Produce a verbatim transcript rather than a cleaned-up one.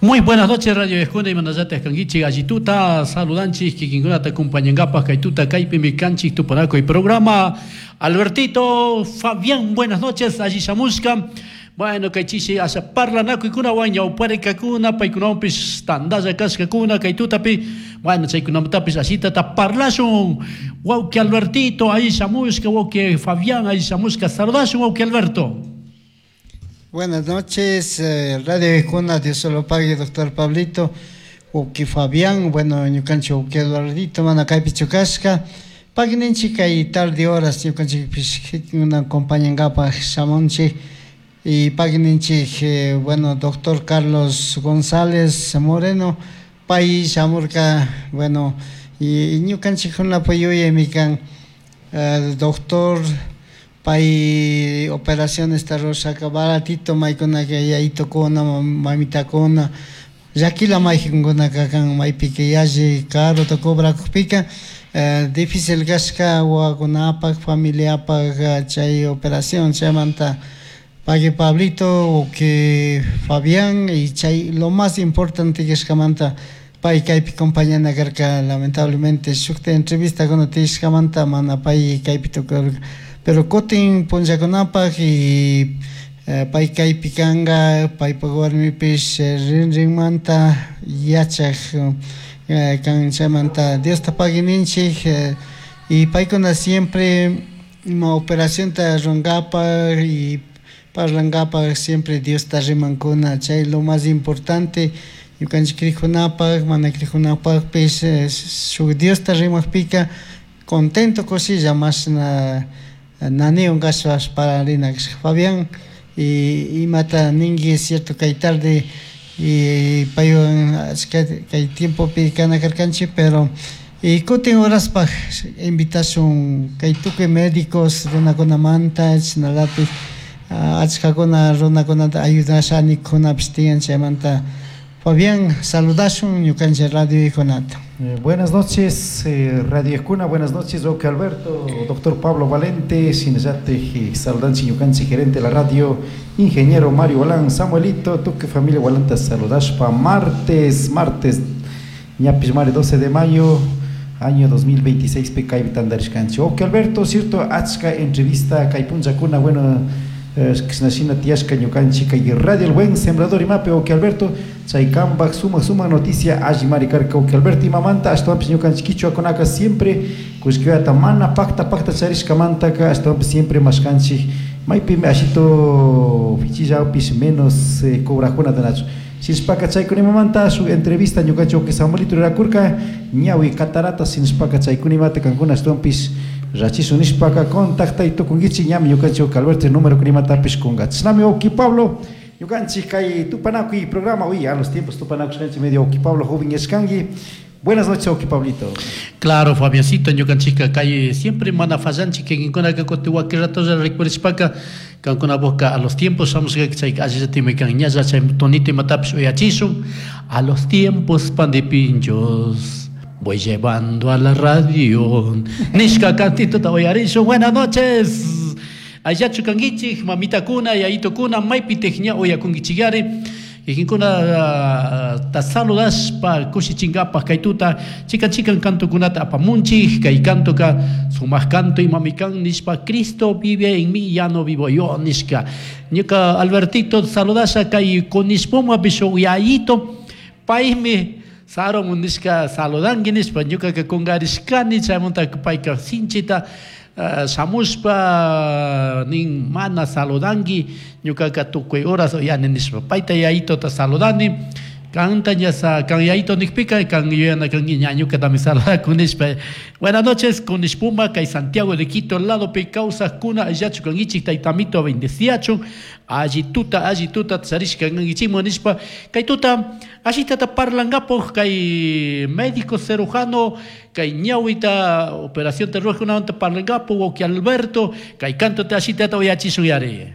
Muy buenas noches, Radio Escuna y Manayate Kanguichi, Allituta, saludanchis, kikinkunata acompañangapaj, kaytuta, kaypimi kanchik, tupanakuy programa. Albertito, Fabián, buenas noches, allí shamushka. Bueno, kay chishi asha parlanakuykunawan ñawparikakuna, paykunawanpish tandalla kashkakuna, kaytutapi. Bueno, chaykunamantapis ashitata parlashun. Wawqi Albertito, ahí shamushka, wawqi Fabián, ahí shamushka, saludashun, wawqi Alberto. Buenas noches, eh, Radio Ejuna, Dios se lo pague, doctor Pablito, wawqi Fabián, bueno, ñukanchik wawqi Eduardito, mana kaypi chukashka, pagui kay tarde horas ñukanchikpish acompañangapaj shamunchik y pagui eh, bueno, doctor Carlos González Moreno, pay shamurka, bueno, y ñukanchikkunapa yuyaymi kan, eh, doctor pay operaciones rurashaka baratito maykunaka yayitukuna mamitakuna llakila maykankunaka kan maypika yalli carota cobrakukpika eh, difícil kashka wawakunapak familiapak chay operación chaymanta pagui Pablito wawqi Fabián y chay lo más importante kashkamanta pay kaypi acompañana karka lamentablemente shukta entrevistakuna tiyashkamanta mana pay kaypi tukurka pero kutin punllakunapak y eh, pay kaypi kanka paypak warmipish rinrinmanta yachak eh, kan chaymanta Diosta pagui ninchik eh, y paykuna siempre ima operacionta rurankapak y parlankapak siempre Diosta rimankuna chay lo más importante ñukanchik crikunapak mana crikkunapakpish shuk Diosta rimakpika contento kushilla mashna naniwan kashpash parlarina kashka Fabián y imata ninki es cierto kay tarde y paywan achka kay tiempopi kana karkanchik pero y kutin horaspaj invitashun kay tukuy médicos runakunamanta chashnalatik achkakuna runakunata ayudasha nikunapish tiyan chaymanta Fabián saludashun ñukanchik radio kunata. Eh, buenas noches, eh, Radio Escuna, buenas noches, wawqi Alberto, doctor Pablo Valente, shinallatik saludanchik ñukanchik gerente de la radio, ingeniero Mario Walán, Samuelito, tukuy familia Walanta saludashpa, martes, martes, ñapish mari doce de mayo, año dos mil veintiséis pi kaypi tantarishkanchik. Wawqi Alberto, cierto, achka entrevista kay punllakuna, bueno, shina tiyashka ñukanchik kay Radio El Buen Sembrador imapi, wawqi Alberto, chay kambak sumak sumak noticia allimari karka, wawqi Alberto, imamanta ashtawanpish ñukanchik kichwakunaka siempre kullkita mana pakta pakta charishkamantaka ashtawanpish siempre mashkanchik maypimi ashito fichillapish menos eh, cobrajunata nachu shinashpaka chaykunimamanta shuk entrevista ñukanchik wawqi Samuelito rurakurka ñawi catarata shinashpaka chaykunimata kankuna ashtawanpish rachishun nishpaka contactay tukunkichik ñami ñukanchik wawqi Alberto número kunimatapish kunka. Chashnami, wawqi Pablo, ñukanchik kay tupanakuy programa, uy, a los tiempos tupanakushkanchik medio, wawqi Pablo, joven yashkanki. Buenas noches, wawqi Pablito. Claro, Fabiancito, ñukanchikka kay siempre mana fallanchik kikinkunaka kutin wakin ratolla rikurishpaka kankuna boca a los tiempos shamushka chay allillatikmi kan ñalla chay tonito imatapish uyachishun. A los tiempos pan de pinchos voy llevando a la radio nishka cantito uyarishun. Buenas noches, allachu kankichik mamitakuna yayitukuna maypitik ña uyakunkichikari kikinkuna ta saludashpa kushichinkapak kaytuta chikan chikan kantukunata apamunchik. Kay kantuka sumak kanto imami kan nishpa "Cristo vive en mí, ya no vivo yo" nishka. Ñuka Albertito saludasha kay Konispuma pish yayito paymi saromun nishka saludanki nishpa ñukaka kungarishkani chaymanta payka sinchita uh, shamushpa nin mana saludanki ñukaka tukuy horas uyani nishpa payta yayitota saludani kanta ña sa kan yayito nikpika kan yuyana kanki ña ñukatami saludakun nishpa. Buenas noches, Konispuma kay Santiago de Quito lado pi kawsakuna allachu kankichik taytamito bendeciachun alli tuta alli tuta charishka kankichikman nishpa kay tuta ashitata parlankapuk kay médico cirujano kay ñawita operación rurakkunamanta parlankapuk wawqi Alberto kay canto te ashitata uyachishun yari.